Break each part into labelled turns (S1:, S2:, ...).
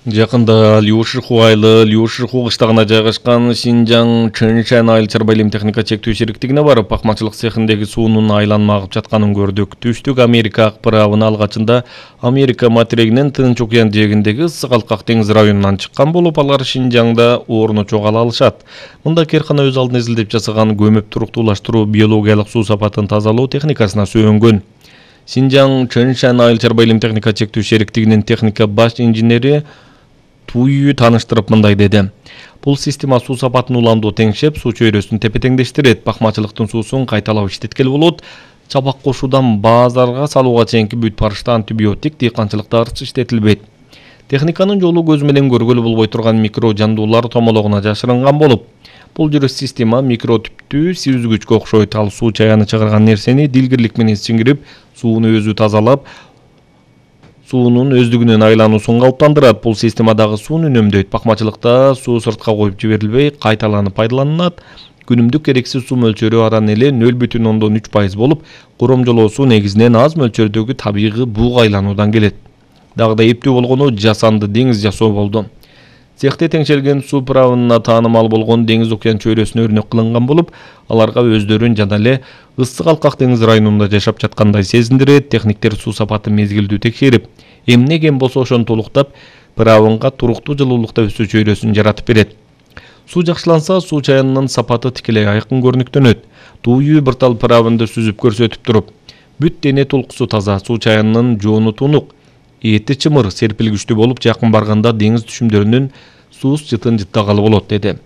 S1: Жакында Льюшиху айылы Льюшиху кыштагына жайгашкан Шинжаң Чэншэн айыл чарба илим техника чектүү шериктигине барып, акмачылык цехиндеги суунун айланма агып жатканын көрдүк. Түштүк Америка акпарабын алгачында Америка материгинин Тынч океан жээгиндеги ысык алкак деңиз районунан чыккан болуп, алар Шинжаңда орну чогала алышат. Мында Керкана өз алдына изилдеп жасаган көмөп туруктуулаштыруу биологиялык суу сапатын тазалоо техникасына сүйөнгөн. Шинжаң Чэншэн айыл чарба илим техника чектүү шериктигинин техника баш инженери Туйю таныштырып мындай деди. Бул система суу сапатын уламдуу теңшеп, суу чөйрөсүн тепе-теңдештирет, бакмачылыктын суусун кайталап иштеткеле болот. Чабак кошуудан базарга салууга чейинки бүт барышта антибиотик, дыйканчылыкта арчы иштетилбейт. Техниканын жолу көз менен көргөлү болбой турган микро жандуулар томологуна жашырынган болуп, бул жүрүш система микро түптүү сүзгүчкө окшойт. Ал суу чаяны чыгарган нерсени дилгирлик менен сиңирип, сууну өзү тазалап, суунун өздүгүнүн айлануусун калыптандырат. Бул системадагы сууну үнөмдөйт. Бакмачылыкта суу сыртка коюп жиберилбей, кайталанып пайдаланылат. Күнүмдүк керексиз суу мөлчөрү аран эле 0,3% болуп, коромжолоосу негизинен аз мөлчөрдөгү табигый буга айлануудан келет. Дагы да эптүү болгону жасанды деңиз жасоо болду. Цехте теңшелген суу правынына таанымал болгон деңиз океан чөйрөсүнө өрнөк кылынган болуп, аларга өздөрүн жана эле ысык алкак деңиз районунда жашап жаткандай сезиндирет. Техниктер суу сапатын мезгилдүү текшерип, эмне кем болсо ошону толуктап, правынга туруктуу жылуулукта өсүү чөйрөсүн жаратып берет. Суу жакшыланса, суу чаянынын сапаты тикелей айкын көрүнүктөнөт. Туйу бир тал правынды сүзүп көрсөтүп туруп, бүт дене толкусу таза, суу чаянынын жоону тунук, эти чымыр, серпилгичтүү болуп, жакын барганда деңиз түшүмдөрүнүн сууз жытын жыттагалы болот деди.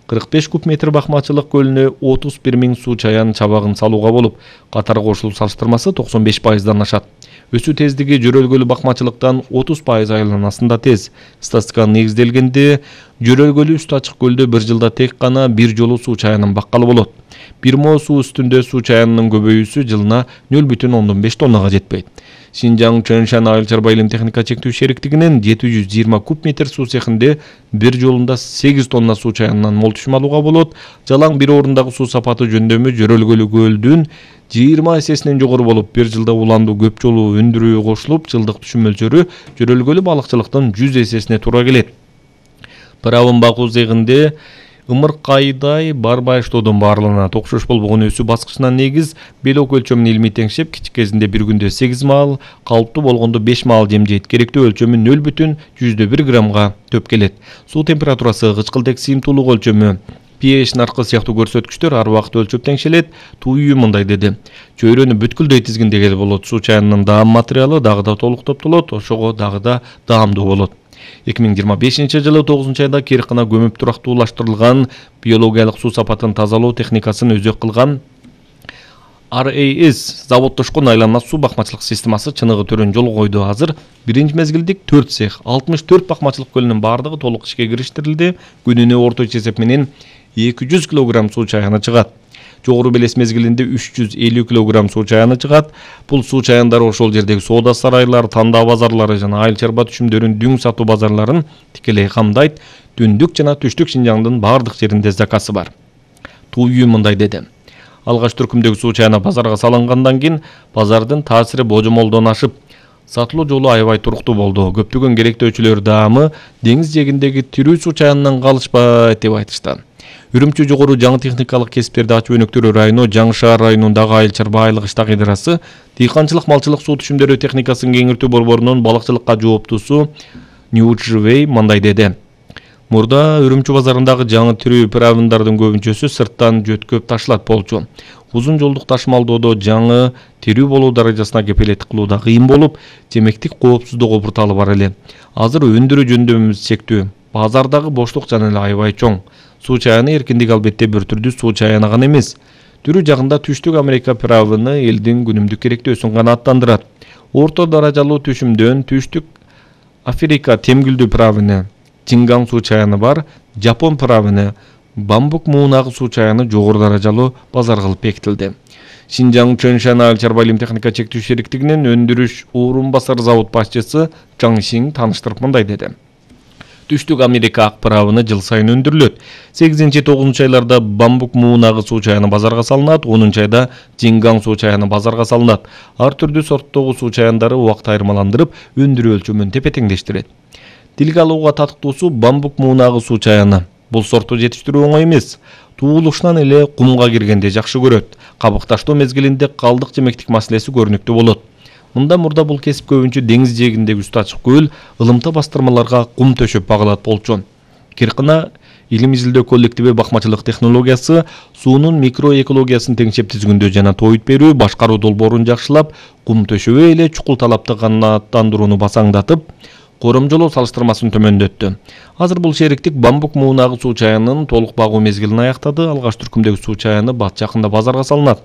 S1: 45 куб метр бакмачылык көлүнө 31 000 суу чаян чабагын салууга болуп, катар кошулуу салыштырмасы 95%дан ашат. Өсүү тездиги жөрөлгөлүү бакмачылыктан 30% айланасында тез. Статистикага негизделгенде, жөрөлгөлүү үстү ачык көлдө bir жылда тек гана bir жолу суу чаянын баккалы болот. Бир мо суу үстүндө суу чаянынын көбөйүүсү жылына 0,5 тоннага жетпейт. Шинжаң Чэншэн айыл чарба илим техника чектүү шериктигинин 720 куб метр суу цехинде bir жолунда 8 тонна суу чаянынан мол түшүм алууга болот. Жалаң bir орундагы суу сапаты жөндөмү жөрөлгөлүү көлдүн 20 эсесинен жогору болуп, bir жылда уландуу көп жолу өндүрүү кошулуп, жылдык түшүм мөлчөрү жөрөлгөлүү балыкчылыктын 100 эсесине туура келет. Правын багуу цехинде ымыркайдай барбай иштоодон баарланат. Окшош болбогон өсүү баскычына негиз белок өлчөмүн илмий теңшеп, кичик кезинде bir күндө 8 маал, калыптуу болгондо 5 маал жемжейт. Керектүү өлчөмү 0,1 граммга төп келет. Суу температурасы, кычкылдык сыйымдуулук өлчөмү, pH наркы сыяктуу көрсөткүчтөр ар убакыт өлчөп теңшелет. Туйу мындай деди. Чөйрөнү бүткүлдөй тизгиндегеле болот. Суу чаянынын даам материалы дагы да толук топтолот, ошого дагы да даамдуу болот. 2025 жылы 9 айда Керкана көмөп турактуулаштырылган биологиялык суу сапатын тазалоо техникасын өзөк кылган RAS заводдошкон айланма суу бакмачылык системасы чыныгы төрөн жол койду. Азыр биринчи мезгилдик 4 цех, 64 бакмачылык көлүнүн бардыгы толук ишке кириштирилди. Күнүнө орточо эсеп менен 200 кг суу чаяны чыгат. Жогору белес мезгилинде 350 кг суу чаяны чыгат. Бул суу чаяндары ошол жердеги соода сарайлар, тандаа базарлары жана айыл чарба түшүмдөрүн дүң сатуу базарларын тикелей камдайт. Түндүк жана түштүк Шинжаңдын бардык жеринде заказы бар. Туйу мындай деди. Алгач түркүмдөгү суу чаяны базарга салынгандан кийин базардын таасири божомолдон ашып, сатылуу жолу аябай туруктуу болду. Көптөгөн керектөөчүлөр даамы деңиз жээгиндеги тирүү суу чаянынан калышпайт деп айтышты. Үрүмчү жогору жаңы техникалык кесиптерди ачуу өнөктөрү району Жаңы шаар районундагы айыл чарба айылык иштак ыдырасы дыйканчылык малчылык суу түшүмдөрү техникасын кеңиртүү борборунун балыкчылыкка жооптусу Ньюджвей мындай деди. Мурда Үрүмчү базарындагы жаңы тирүү правындардын көбүнчөсү сырттан жөткөп ташылат болчу. Узун жолдук ташымалдоодо жаңы тирүү болуу даражасына кепилеттик кылуу да кыйын болуп, жемектик коопсуздук обурталы бар эле. Азыр өндүрүү жөндөмүбүз чектүү. Базардагы боштук жана эле аябай чоң. Суу чаяны эркиндик албетте бир түрдүү суу чаяны гана эмес. Түрүү жагында түштүк Америка правыны элдин күнүмдүк керектөөсүн канааттандырат. Орто даражалуу түшүмдөн түштүк Африка темгүлдүү правыны, Чингаң суу чаяны бар, Жапон правыны, Бамбук муунагы суу чаяны жогору даражалуу базар кылып бекитилди. Шинжаң Чэншэн айыл чарба илим техника чектүү шериктигинин өндүрүш орун басар завод башчысы Чаң Сиң таныштырып мындай деди. Түштүк Америка акпарабыны жыл сайын өндүрүлөт. 8-9 айларда Бамбук муунагы суу чаяны базарга салынат, 10 айда Чингаң суу чаяны базарга салынат. Ар түрдүү сорттогу суу чаяндары убакыт айырмаландырып, өндүрүү өлчөмүн тепе-теңдештирет. Тилге алууга татыктуусу бамбук муунагы суу чаяны. Бул сортту жетиштирүү оңой эмес. Туулушунан эле кумга киргенде жакшы көрөт. Кабыкташтоо мезгилинде калдык жемектик маселеси көрүнүктүү болот. Мындан мурда бул кесип көбүнчө деңиз жээгиндеги үстү ачык көл, ылымта бастырмаларга кум төшөп багылат болчу. Киркына илим изилдөө коллективи бакмачылык технологиясы суунун микроэкологиясын теңшеп түзгөндө жана тоойут берүү, башкаруу долбоорун жакшылап, кум төшөбөй эле чукул талапты канааттандырууну басаңдатып, коромжолоо салыштырмасын төмөндөттү. Азыр бул шериктик бамбук муунагы суу чаянын толук багуу мезгилин аяктады. Алгаш түркүмдөгү суу чаяны бат жакында базарга салынат.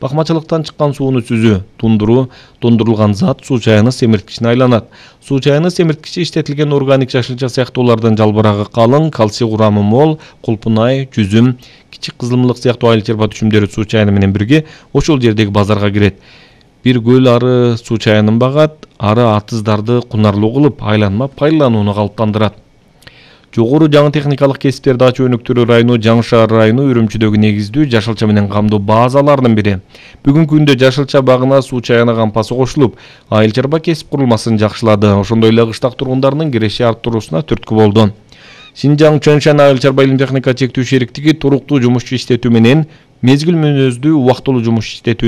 S1: Бакмачылыктан чыккан сууну сүзүү, тундурулган зат суу чаяны семирткичине айланат. Суу чаяны семирткичи иштетилген органик жашылча сыяктуулардан жалбырагы калың, кальций курамы мол, кулпунай, жүзүм, кичик кызылмылык сыяктуу айыл чарба түшүмдөрү суу чаяны менен бирге ошол жердеги базарга кирет. Бир көл ары суу чаянын багат, ары атыздарды кунарлуу кылып, айланма пайдаланууну калыптандырат. Жогору жаңы техникалык кесиптерди ачуу өнүктүрүү району Жаңы Шаар району Үрүмчүдөгү негиздүү жашылча менен камдуу базаларынын бири. Бүгүнкү күндө жашылча багына суу чаяны кампасы кошулуп, айыл чарба кесип курулмасын жакшылады. Ошондой эле кыштак тургундарынын киреши арттыруусуна түрткү болду. Шинжаң Чөншен айыл чарба илим техника чектүү шериктиги туруктуу жумушчу иштетүү менен мезгил мүнөздүү убактылуу жумуш иштетүү